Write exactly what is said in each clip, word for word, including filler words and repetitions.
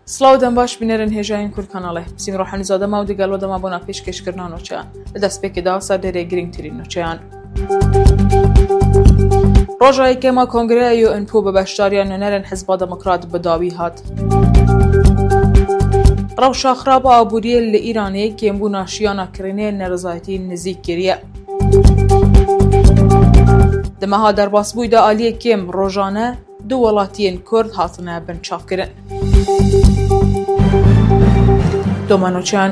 Silav dem baş, bînerên hêjayên Kurd Kanalê. Sîmro Hemîzade me û digel we dema bona pêşkêşkirina nûçeyan. Li destpêkê de serdêrê girîngtirîn nûçeyan. Roja yekem a Kongreya U N P bi beşdariya nûnerên Hizba Demokrat bi dawî hat. Rewşa xirab a aboriyê li Îranê kêmbûna şiyana kirînê nerizayetî nizîk kiriye. Di meha derbasbûyî de aliyê kêm rojane du welatiyên Kurd hatine binçavkirin. Doma nûçeyan.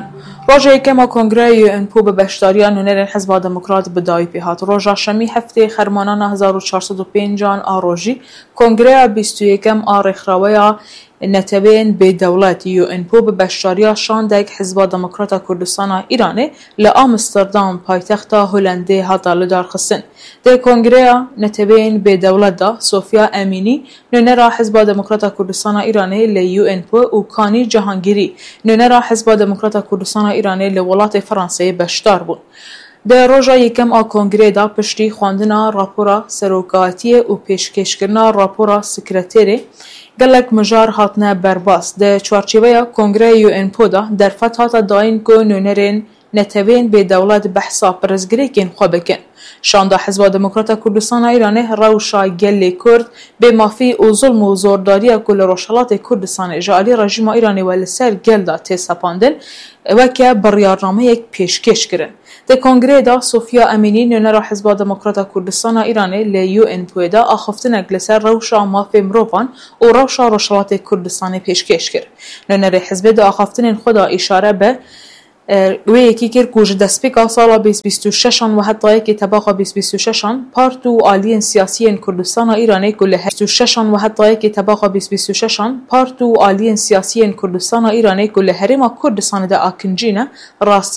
Roja yekem a Kongreya U N P bi beşdariya nûnerên Hizba Demokrat bi dawî pê hat. Roja Şemî heftê Xermanana hezar û çar sed û pênc an a rojî, Kongreya bîst û yekem a Rêkxiraweya Neteweyên Bêdewlet U N P bi beşdariya şandek Hizba Demokrata Kurdistana Îranê li Amsterdam, paytexta Holendê hata lidarxistin. Di Kongreya Neteweyên Bêdewlet de Sofya Emînî, nûnera Hizba Demokrata Kurdistana Îranê li U N P û Kanî Cihangîrî, nûnera Hizba Demokrata Kurdistana Îranê li welatê Franseyê beşdar bûn. Di roja yekem a kongreyê de piştî xwendina rapora serokatiyê û pêşkêşkirina rapora sekreterê, gelek mijar hatine berbas. Di çarçêveya Kongreya U N P de derfet hate dayîn ku nûnerên neteweyên bêdewlet behsa pirsgirêkên xwe bikin. Şanda Hizba Demokrata Kurdistana Îranê rewşa gelê Kurd, bêmafî û zulm û zordariya ku li Rojhelatê Kurdistanê ji alî rejîma Îranê ve li ser gel de tê sepandin, weke biryarnameyek pêşkêş kirin. Di kongreyê de Sofya Emînî, nûnera Hizba Demokrata Kurdistana Îranê li U N P de axiftinek li ser rewşa mafê mirovan û rewşa Rojhelatê Kurdistanê pêşkêş kir. Nûnerê hizbê di axaftinên xwe de îşare bi, e, wê yekî kir ku ji destpêka sala bîst bîst û şeş an ve heta yekê tebaxa bîst bîst û şeş an part û aliyên siyasî yên Kurdistana Îranê ku li her bîst û şeş an ve heta yekê tebaxa bîst bîst û şeş an part û aliyên siyasî yên Kurdistana Îranê ku li Herêma Kurdistanê de akincî ne, rastî